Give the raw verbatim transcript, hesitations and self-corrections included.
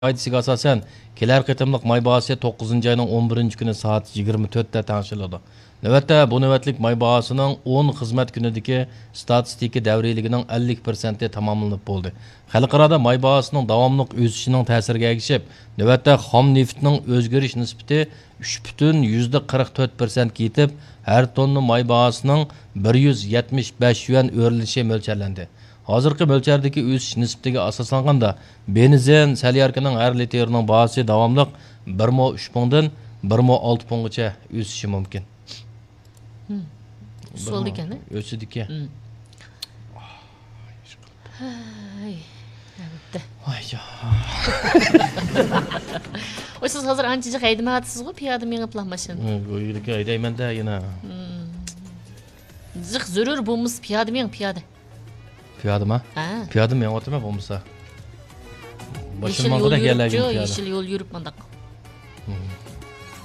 قائىدىسىگە ئاساسەن، كېلەر قېتىملىق ماي باھاسى توققۇزىنچى ئاينىڭ ئون بىرىنچى كۈنى سائەت يىگىرمە تۆتتە تەڭشىلىدۇ. نۆۋەتتە، بۇ نۆۋەتلىك ماي باھاسىنىڭ ئون خىزمەت كۈنىدىكى ستاتىستىكا دەۋرىيلىكىنىڭ ئەللىك پىرسەنتى تاماملىنىپ بولدى. خەلقئارادا ماي باھاسىنىڭ داۋاملىق ئۆسۈشىنىڭ تەسىرىگە ئەگىشىپ، نۆۋەتتە خام نېفىتنىڭ ئۆزگىرىش نىسبىتى ئۈچ پۈتۈن يۈزدە قىرىق تۆت پىرسەنتكە يېتىپ، ھەر توننا ماي باھاسىنىڭ بىر يۈز يەتمىش بەش يۈەن ئۆرلىشى مۆلچەرلەندى. ھازىرقى مۆلچەردىكى ئۆسۈش نىسبىتىگە ئاساسلانغاندا، بېنزىن، سەلياركىنىڭ ھەر لىتىرىنىڭ باھاسى داۋاملىق بىر مو ئۈچ پۇڭدىن بىر مو ئالتە پۇڭغىچە ئۆسۈشى مۇمكىن. بىر سول مو دېگەن، ھە؟ ئۆسىدىكەن. ھەي، ئەلۋەتتە. ۋاي جان. ۋاي، سىز ھازىر ئانچە جىق ھەيدىمەيۋاتىسىزغۇ، پىيادە مېڭىپلا ماشىنا. ئۆيدىكى ھەيدەيمەن-دە يەنە. جىق زۆرۈر بولمىسا پىيادە مېڭىڭ، پىيادە. پىيادىما؟ ھە. پىيادە مېڭىۋاتىمەن بولمىسا. باشىم ماڭغۇدەك يەرلەرگە پىيادە. يېشىل يول يۈرۈپ مانداق.